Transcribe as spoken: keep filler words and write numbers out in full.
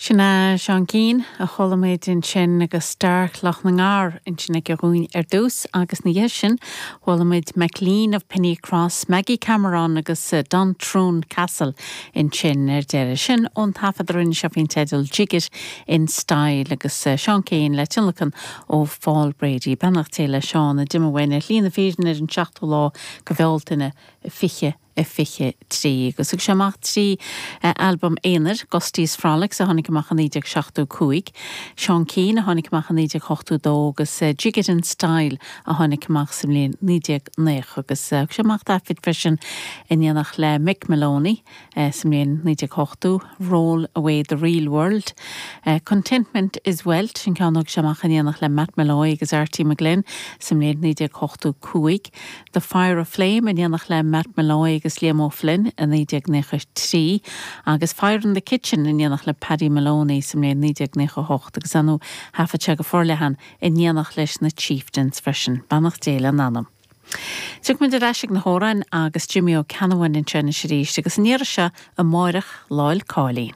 Sin é Seán Keane a chuala muid ansin agus Star Chloch na nGar ansin aige dhúinn ar dtús agus ina dhiaidh sin chuala muid McLean of Pennycross, Maggie Cameron agus uh, Duntroon Castle ansin ar deireadh sin ón taifead a rinne sé faoin teideal Jig It in Style agus uh, Seán Keane le tionlacan ó Paul Brady beannacht Dé le Seán a d'imigh uainn ar shlí na fírinne ar an seachtú lá de Bhealtaine fiche a fiche trí agus thug sé amach trí uh, albam aonair Gusty's Frolics a tháinig amach in naoi déag seachtó cúig. Seán Keane a tháinig amach in naoi déag ochtó dó agus uh, Jig It in Style a tháinig amach sa mbliain naoi déag nócha agus uh, sé amach taifead freisin in éineacht le Mick Moloney uh, sa mbliain naoi déag ochtó Roll Away the Real World. Uh, Contentment is Wealth sin ceann sé amach in éineacht le Matt Molloy agus Artie McGlynn sa mbliain naoi déag ochtó cúig. The Fire of Flame in éineacht le Matt Molloy agus Liam O'Flynn in naoi déag nócha trí agus Fire in the Kitchen in éineacht le Paddy Moloney sa mbliain naoi déag nócha hocht agus anú thaifead sé go forleathan in éineacht leis na Chieftains freisin beannacht Dé lena anam. Tiocfaimid ar ais ag na hamhráin agus Jimmy Ó Ceannabháin ansin arís agus an iarraidh seo amárach Lá 'le Cáilín.